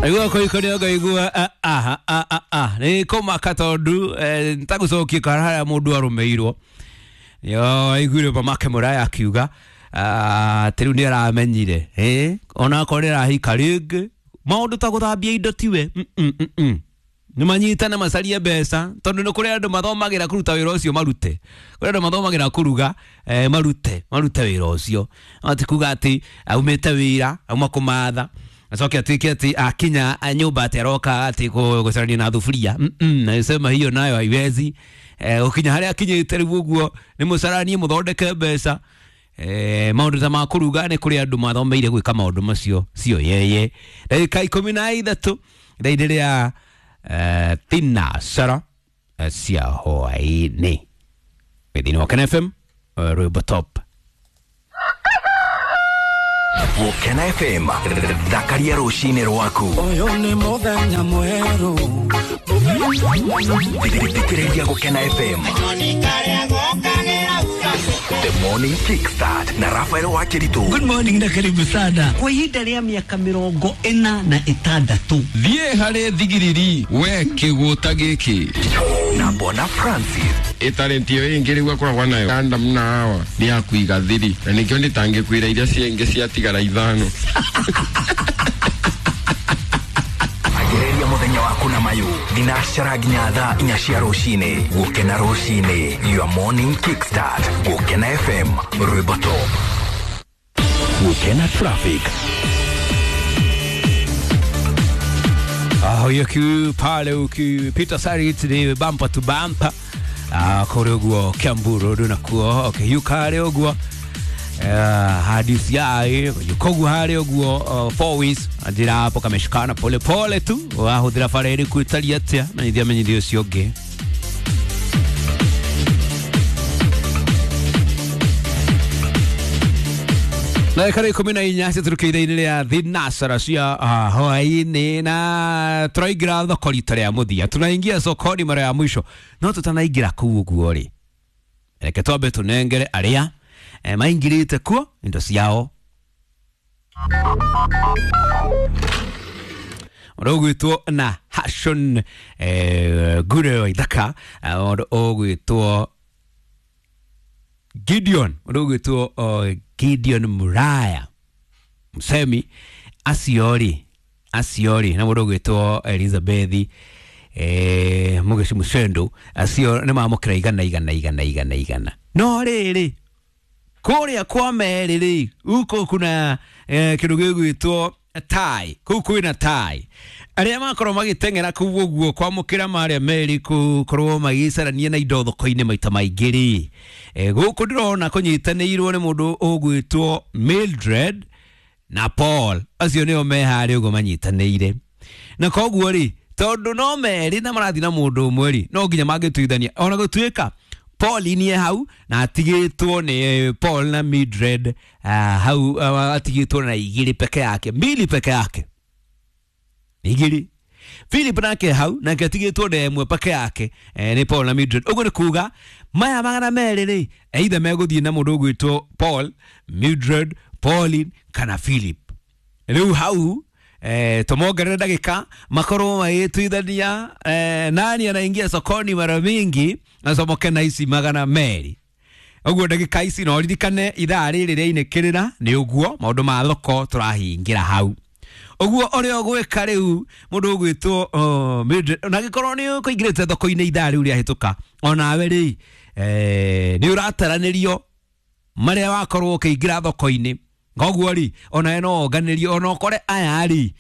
Aigua kũikũria ngaigua aha a a nĩ kũmaka tondũ ntagũcokia kana harĩa mũndũ arũmĩirwo yo aiguire mamake mũraya akiuga atĩ rĩu nĩ aramenyire ona akorwo nĩ arahika rĩngĩ maũndũ ta gũthambia indo tiwe nĩ manyitane macarie mbeca tondũ nĩ kũrĩ andũ mathomagĩra kũruta wĩra ũcio marute kũrĩ andũ mathomagĩra kũruga marute wĩra ũcio no ti kuga atĩ aumĩte wĩra auma kũmatha acoke atuĩke atĩ akinya nyũmba atĩ aroka atĩ gũcarania na thuburia. Nasema hiyo nayo haiwezi. Ũkinya harĩa akinyĩte rĩu ũguo nĩ mũcaranie mũthondeke mbeca. Maũndũ ta ma kũruga nĩ kũrĩ andũ mathomeire gwĩka maũndũ macio sio yeye. Ndagĩka 13 ithaa-inĩ rĩa thinacara cia hwaĩ-inĩ thĩinĩ wa Ken FM rwĩmbo top. Gũkena FM thakaria rũcinĩ rwaku. Ũyũ nĩ mũthenya mwerũ. Thikĩrĩria Gũkena FM The Morning Kickstart na Rafael Wakiritu. Good morning na karibu sana. Kwa ihinda rĩa mĩaka 46. Thiĩ harĩ thigiriri we kĩgũta gĩkĩ na Bona Francis. Ĩtarĩnti ĩyo ĩngĩ rĩu akoragwo nayo Adam na Hawa nĩ ya kũiga thiri na nĩkĩo ndĩtangĩkwĩra iria ciengĩ ciatigara 5. Anjĩrĩria mũthenya waku na mayũ thinacara nginya thaa 4 cia rũcinĩ. Gũkena rũcinĩ, your morning kickstart. Gũkena FM rwĩmbo top. Gũkena traffic. Hiyo pale ukipita Sarit ni bumper to bumper. Kũrĩ ũguo Kiambu Road nakuo ũkĩhiũka harĩ ũguo hadi CI yukogu harĩ ũguo four ways njĩra hapo kameshikana pole pole tu wahũthĩra bara ĩrĩkũ ĩtariĩ atĩa menyithia menyithia ũcio ũngĩ. Na ikara 14 ciatũrũkĩire ithaa-inĩ rĩa thinacara cia hwaĩ-inĩ na tũraingĩra thoko rita rĩa mũthia, tunaingia sokoni mara ya mwisho no tutanaingĩra kũu ũguo rĩ, reke twambe tũnengere arĩa maingĩrĩte kuo indo ciao. Ũndũ ũgwĩtwo na Hashon Ngure wa Ithaka, ũndũ ũgwĩtwo Gideon, ũndũ ũgwĩtwo Gideon Muraya Msemi aciori na mũndũ ũgwĩtwo Elizabeth Mugeci Mucendo acio nĩ mamũkĩra igana igana igana igana igana. No rĩrĩ kũrĩa kwa Meri rĩ uko kuna kĩndũ gĩgwĩtwo tai kũu kwĩna tai arĩa makorwo magĩteng'era kũu ũguo kwamũkĩra marĩa Meri gũkorwo magĩcarania na indo thoko-inĩ maita maingĩ rĩ, gũkũ ndĩrona kũnyitanĩirwo nĩ mũndũ ũgwĩtwo Mildred na Paul acio nĩo me harĩa ũguo manyitanĩire na koguo rĩ tondũ no Meri na marathiĩ na mũndũ ũmwe rĩ no nginya mangĩtuithania ona gũtuĩka Paul ni hau na atigĩtwo nĩ Paul na Mildred hau atigĩtwo na 2 peke yake 2 peke yake 2. Philip nake hau nake atigĩtwo na 1 peke yake nĩ Paul na Mildred. Ũguo nĩ kuga maya 200 rĩ either megũthiĩ na mũndũ ũgwĩtwo Paul, Mildred, Pauline kana Philip. Rĩu hau tumongerere ndagĩka makorwo magĩtuithania nani anaingia sokoni mara mingi acomoke na ici 200. Ũguo ndagĩka ici no ririkane ithaa rĩrĩ rĩainĩkĩrĩra nĩ ũguo maũndũ ma thoko tũrahingĩra hau. Ũguo ũrĩa ũgwĩka rĩu mũndũ ũgwĩtwo Mildred na gĩkorwo nĩ ũkũingĩrĩte thoko-inĩ ithaa rĩu rĩahĩtũka onawe rĩ nĩ ũrataranĩrio marĩa wakorwo ũkĩingĩra thoko-inĩ koguo rĩ onawe no onganĩrio ona ũkore aya rĩ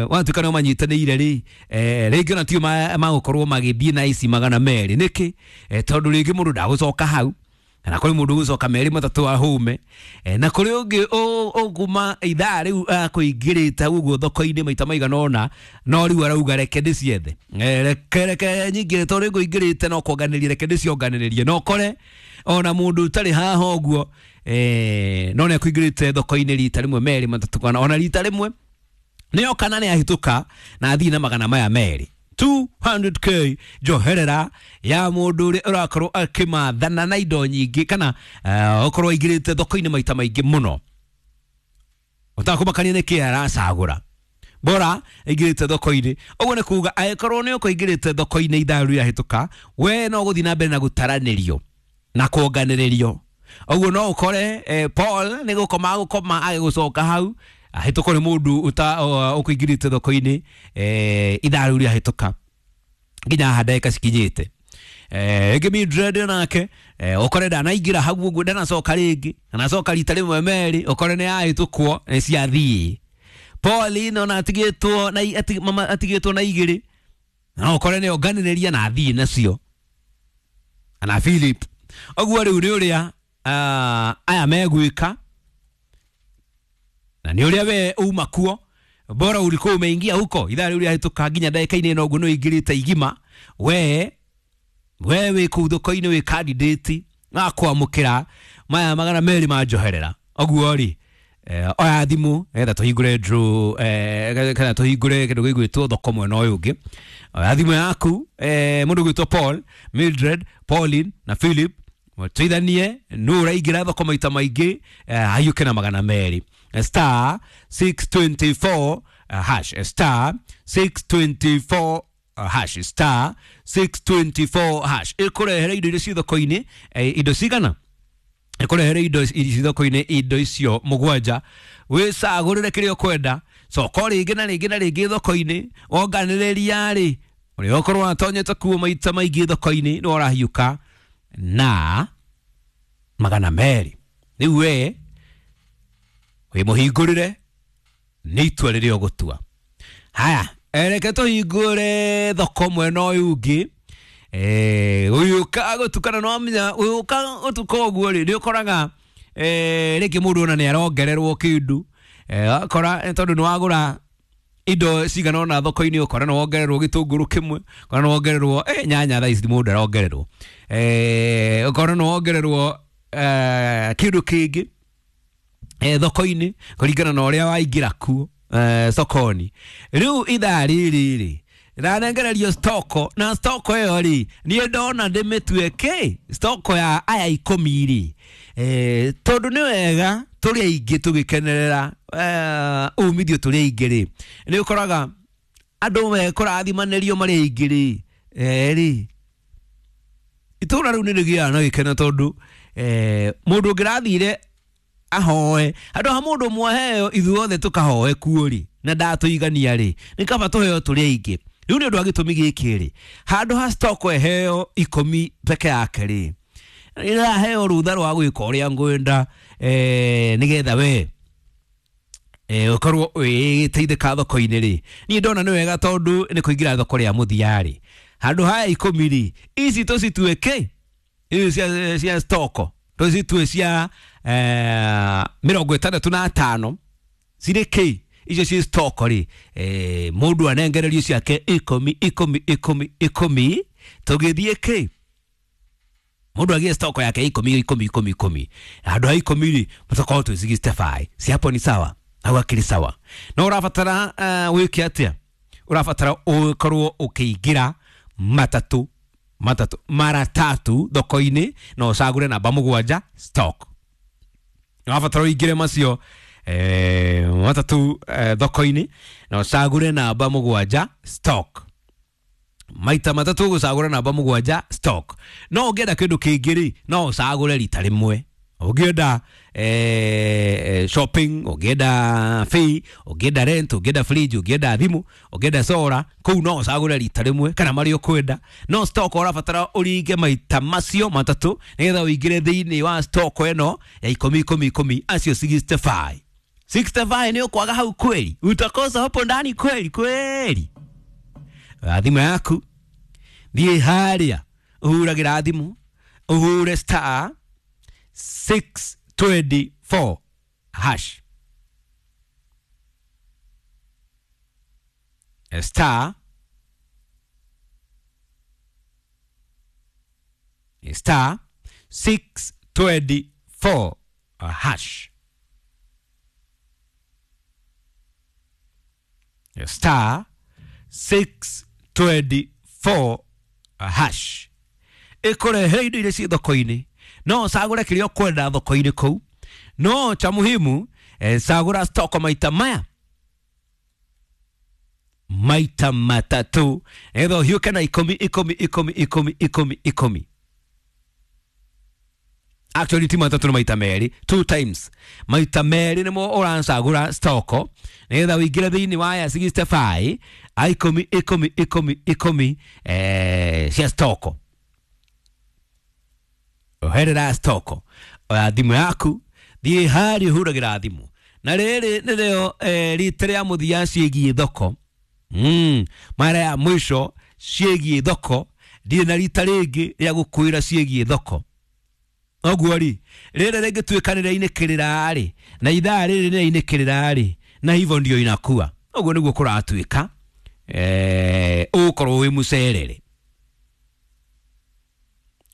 watuĩka nĩo manyitanĩire rĩ rĩngĩ ona tio magũkorwo magĩthiĩ na ici 200 nĩkĩ tondũ rĩngĩ mũndũ ndagũcoka hau kana kũrĩ mũndũ ũgũcoka 2 3 ahũme na kũrĩ ũngĩ ũkuma ithaa rĩu akũingĩrĩte ũguo thoko-inĩ maita maigana ũna no rĩu arauga reke ndĩciethe reke nyingĩre tondũ ngũingĩrĩte no kuonganĩria reke ndĩcionganĩrĩrie no kore ona mũndũ ũtarĩ haha ũguo no nĩ akũingĩrĩte thoko-inĩ rita rĩmwe 2 3 kana ona rita rĩmwe nĩyo kana nĩ ahĩtũka na athiĩ na 200 200k njoherera ya mũndũ ũrĩa ũrakorwo akĩmathana na indo nyingĩ kana ũkorwo aingĩrĩte thoko-inĩ maita maingĩ mũno ũtakũmakania nĩkĩ aracagũra. Bora aingĩrĩte thoko-inĩ. Ũguo nĩ kuga angĩkorwo nĩ ũkũingĩrĩte thoko-inĩ ithaa rĩu rĩahĩtũka, we no gũthiĩ na mbere na gũtaranĩrio na kuonganĩrĩrio. Ũguo no ũkore Paul nĩ gũkoma gũkoma agĩgũcoka hau ahĩtũkwo nĩ mũndũ ũkũingĩrĩte thoko-inĩ ithaa rĩu rĩahĩtũka nginya haha ndagĩka cikinyĩte. Ĩngĩ Mildred nake ũkore ndanaingĩra hau ũguo, ndanacoka rĩngĩ, anacoka rita rĩmwe merĩ, ũkore nĩ ahĩtũkwo nĩ ciathiĩ. Pauline ona atigĩtwo na mama atigĩtwo na igĩrĩ, na ũkore nĩ onganĩrĩria na athiĩ nacio, ana Philip. Ũguo rĩu nĩ ũrĩa aya megwĩka na nĩ ũrĩa we uma kuo. Bora ulikuwa umeingia huko ithaa rĩu rĩahĩtũka nginya ndagĩka-inĩ ĩno ũguo nĩ ũingĩrĩte igima, we wĩ kũu thoko-inĩ wĩ candidate wa kwamũkĩra maya 200 ma njoherera. Ũguo rĩ oya thimũ nĩgetha tũhingũre draw, kana tũhingũre kĩndũ gĩgwĩtwo thoko mwena ũyũ ũngĩ. Oya thimũ yaku, mũndũ ũgwĩtwo Paul, Mildred, Pauline na Philip, tũithanie nũ ũraingĩra thoko maita maingĩ, ahiũke na 200. Star 624 hash, star 624 hash, star 624 hash. Ĩkũrehere indo iria ciĩ thoko-inĩ, indo cigana? Ĩkũrehere indo ici thoko-inĩ, indo icio mũgwanja. Wĩcagũrĩre kĩrĩa ũkwenda, coka rĩngĩ na rĩngĩ na rĩngĩ thoko-inĩ, wonganĩrĩria rĩ ũrĩa ũkorwo watonyete kuo maita maingĩ thoko-inĩ nĩ ũrahiũka na 200. Rĩu we wĩmũhingũrĩre nĩ itua rĩrĩa ũgũtua. Haya, reke tũhingũre thoko mwena ũyũ ũngĩ. Ũyũka gũtukana no amenya, ũyũka gũtuka ũguo rĩ, nĩ ũkoraga rĩngĩ mũndũ ona nĩ arongererwo kĩndũ. Akora tondũ nĩ wagũra indo cigana ũna thoko-inĩ, ũkora nĩ wongererwo gĩtũngũrũ kĩmwe, ũkora nĩ wongererwo nyanya thaa ici mũndũ arongererwo, ũkora nĩ wongererwo kĩndũ kĩngĩ thoko-inĩ kũringana na ũrĩa waingĩra kuo sokoni. Rĩu ithaa rĩrĩ rĩ ndanengererio stoko, na stoko ĩyo rĩ niĩ ndona ndĩmĩtue kĩ stoko ya aya 10 rĩ, tondũ nĩ wega tũrĩ aingĩ tũgĩkenerera umithio tũrĩ aingĩ rĩ, nĩ ũkoraga andũ mekũrathimanĩrio marĩ aingĩ rĩ, rĩ itũra rĩu nĩ rĩgĩaga na gĩkeno tondũ mũndũ ũngĩrathire ahoe handũ ha mũndũ ũmwe aheo ithuothe tũkahoe kuo rĩ na ndatũigania rĩ, nĩ kaba tũheo tũrĩ aingĩ. Rĩu nĩ ũndũ wa gĩtũmi gĩkĩ rĩ, handũ ha stock ĩheo 10 peke yake rĩ, nĩraheo rũtha rwa gwĩka ũrĩa ngwenda, nĩgetha we ũkorwo wĩteithĩka thoko-inĩ rĩ. Niĩ ndona nĩ wega tondũ nĩ kũingĩra thoko rĩa mũthia rĩ, handũ haya 10 rĩ, ici tũcitue kĩ ici cia stock tũcitue cia 65 cirĩ kĩ icio ci stock rĩ, mũndũ anengererio ciake 10 10 10 10 tũgĩthiĩ kĩ mũndũ agĩe stock yake 10 10 10 10 handũ ha 10 rĩ tũkorwo twĩ 65. Si hapo ni sawa? Hau akĩrĩ sawa. No ũrabatara wĩke atĩa? Ũrabatara ũkorwo ũkĩingĩra matatũ matatũ mara tatu thoko-inĩ na ũcagũre namba 7 stock. Ũrabatara ũingĩre macio matatũ thoko-inĩ na ũcagũre namba 7 stock. Maita matatũ ũgũcagũra namba 7 stock. No ũngĩenda kĩndũ kĩngĩ rĩ, no ũcagũre rita rĩmwe. Ũngĩenda shopping, ũngĩenda fee, ũngĩenda rent, ũngĩenda fridge, ũngĩenda thimũ, ũngĩenda solar, kũu no ũcagũre rita rĩmwe kana marĩa ũkwenda. No stock ũrabatara ũringe maita macio matatũ nĩgetha ũingĩre thĩinĩ wa stock ĩno ya 10 10 10 acio 65. 65 nĩ ũkwaga hau kweli, utakosa hapo ndani kweli kweli. Thimũ yaku thiĩ harĩa ũhuragĩra thimũ, ũhure star 624 hash, star star 624 hash, star 624 hash. Ĩkũrehe indo iria ciĩ thoko-inĩ, no ũcagũre kĩrĩa ũkwenda thoko-inĩ kũu. No cha muhimu, cagũra stock maita maya Maita matatu nĩgetha ũhiũke na ikũmi ikũmi ikũmi ikũmi ikũmi ikũmi. Actually ti matatũ, nĩ maita merĩ, two times, maita merĩ nĩmo ũracagũra stoko nĩgetha ũingĩre thĩinĩ wa ya 65 a ikũmi ikũmi ikũmi ikũmi cia stoko. Oherera stoko, oya thimũ yaku, thiĩ harĩa ũhũragĩra thimũ, na rĩrĩ nĩrĩo rita rĩa mũthia ciĩgiĩ thoko, mara ya mwisho ciĩgiĩ thoko. Ndirĩ na rita rĩngĩ rĩa gũkwĩra ciĩgiĩ thoko. Ũguo rĩ, rĩrĩ rĩngĩtuĩka nĩ rĩainĩkĩrĩra rĩ, na ithaa rĩrĩ nĩ rĩainĩkĩrĩra rĩ, na hivyo ndio inakuwa, ũguo nĩguo kũratuĩka, ũgũkorwo wĩ mũcerere,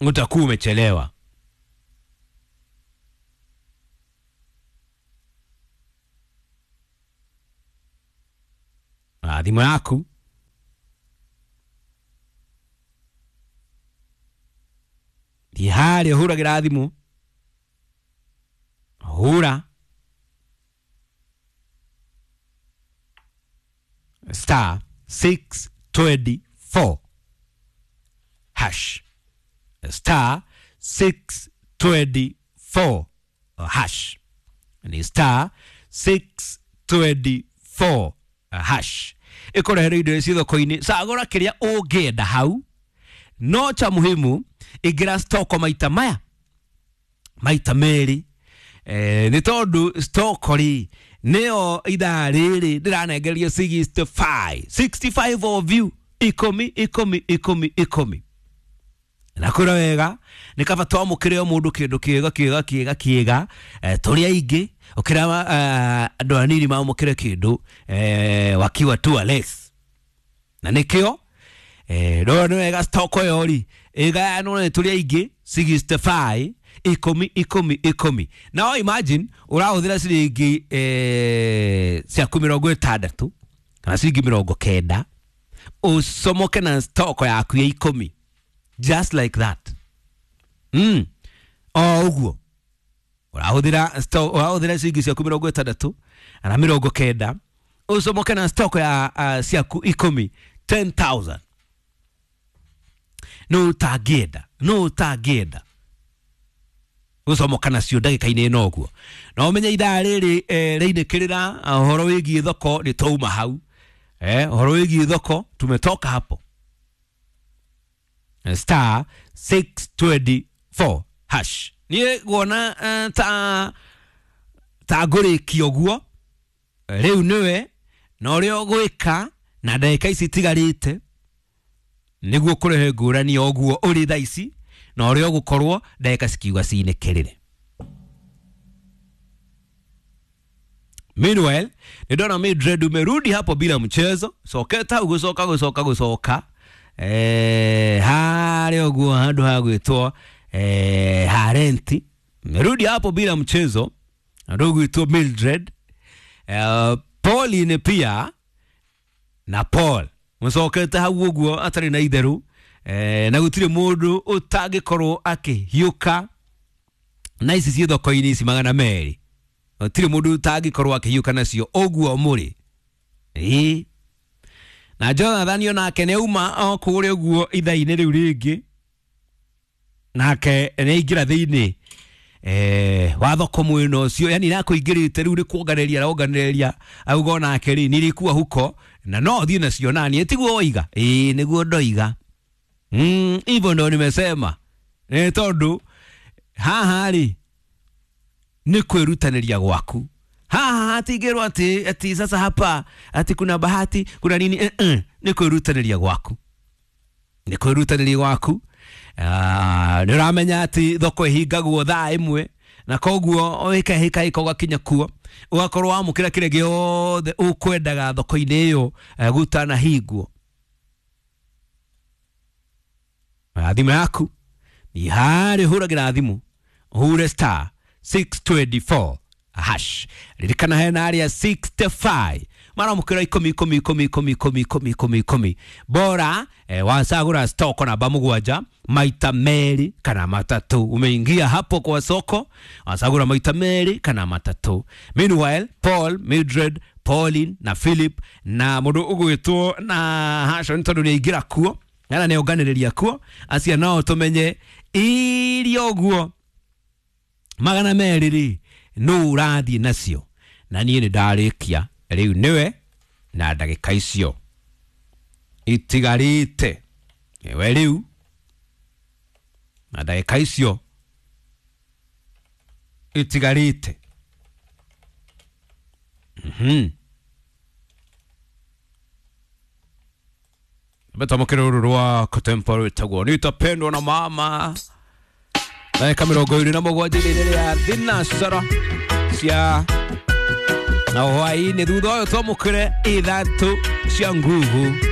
utakuwa umechelewa. Ah, thimũ yaku thiĩ harĩa ũhũragĩra thimũ, hũra star 624 hash, star 624 hash, ni star 624 hash ĩkũrehere indo ici thoko-inĩ. Cagũra kĩrĩa ũngĩenda hau, no cha muhimu ingĩra stoko maita maya maita merĩ, nĩ tondũ stoko rĩ nĩyo ithaa rĩrĩ ndĩranengerio 65 65 of you, ikũmi ikũmi ikũmi ikũmi. Na kũra wega nĩ kaba twamũkĩre o mũndũ kĩndũ kĩega kĩega kĩega kĩega, tũrĩ aingĩ ũkĩra andũ anini mamũkĩre kĩndũ wakiwa tu less. Na nĩkĩo ndona nĩ wega stoko ĩyo rĩ ĩgayanwo nĩ tũrĩ aingĩ 65 ikũmi ikũmi ikũmi. Now imagine ũrahũthĩra ciringi ciaku 60 kana ciringi 90 ũcomoke na stoko yaku ya ikũmi, just like that. O ũguo ũrahũthĩra ciringi ciaku 60 kana 90 ũcomoke na stoko ya ciaku ikũmi, 10,000. No ũtangĩenda, no ũtangĩenda gũcomoka nacio ndagĩka-inĩ ĩno ũguo. Na ũmenye ithaa rĩrĩ rĩinĩkĩrĩra ũhoro wĩgiĩ thoko nĩ twauma hau, ũhoro wĩgiĩ thoko tumetoka hapo. Star 624 hash. Niĩ guona ta ngũrĩkia ũguo rĩu nĩwe na ũrĩa ũgwĩka na ndagĩka ici itigarĩte nĩguo kũrehe ngũrani ũguo ũrĩ thaa ici na ũrĩa ũgũkorwo ndagĩka cikiuga cinĩkĩrĩre. Meanwhile, nĩndona Mildred umerudi hapo bila mchezo, soketa gũcoka gũcoka gũcoka harĩa ũguo handũ ha gwĩtwo harenti, merudi hapo bila mchezo andũ gwĩtwo Mildred, Pauline pia na Paul mũcokete hau ũguo atarĩ na itherũ, na gũtirĩ mũndũ ũtangĩkorwo akĩhiũka na ici ciĩ thoko-inĩ ici 200, gũtirĩ mũndũ ũtangĩkorwo akĩhiũka nacio ũguo mũrĩ. Ĩĩ, na Jonathan onake nĩ auma o kũrĩa ũguo ithaa-inĩ rĩu rĩngĩ, nake nĩ aingĩra thĩinĩ wa thoko mwena ũcio, yani nakũingĩrĩte rĩu nĩ kuonganĩrĩria aronganĩrĩria, auga onake rĩ nilikuwa huko na no thiĩ nacio nani, tiguo woiga? Ĩĩ, nĩguo ndoiga, hivyo ndo nimesema, nĩ tondũ haha rĩ nĩ kwĩrutanĩria gwaku. Haha hatingĩrwo atĩ ati sasa hapa ati kuna bahati kuna nini, nĩ kwĩrutanĩria gwaku, nĩ kwĩrutanĩria gwaku. Nĩ ũramenya atĩ thoko ĩhingagwo thaa ĩmwe, na koguo wĩkahĩkahĩka ũgakinya kuo ũgakorwo wamũkĩra kĩrĩa gĩothe ũkwendaga thoko-inĩ ĩyo gũtanahingwo. Thimũ yaku nĩ harĩa ũhũragĩra thimũ, ũhure star 624 hash. Ririkana hena arĩa 65 Maramukira 10 10 10 10 10 10 10 10 bora wacagura stock namba 7 maita 2 kana 3. Umeingia hapo kwa soko wacagura maita 2 kana 3. Meanwhile Paul, Mildred, Pauline na Philip na mundu ugwitwo na Hashon tondu niaingira kuo na nĩonganĩrĩria kuo acia nao tũmenye iria ũguo 200 rĩ nũ ũrathiĩ nacio. Na niĩ nĩ ndarĩkia rĩu nĩwe na ndagĩka icio itigarĩte nĩwe rĩu na ndagĩka icio itigarĩte. Betamukira ruru rwa contemporary tagwo nitapendwa na mama. Ndagĩka 27 rĩrĩa thinacara cia na hwaĩ-inĩ thutha ũyũ twamũkĩre 3 cia nguvu.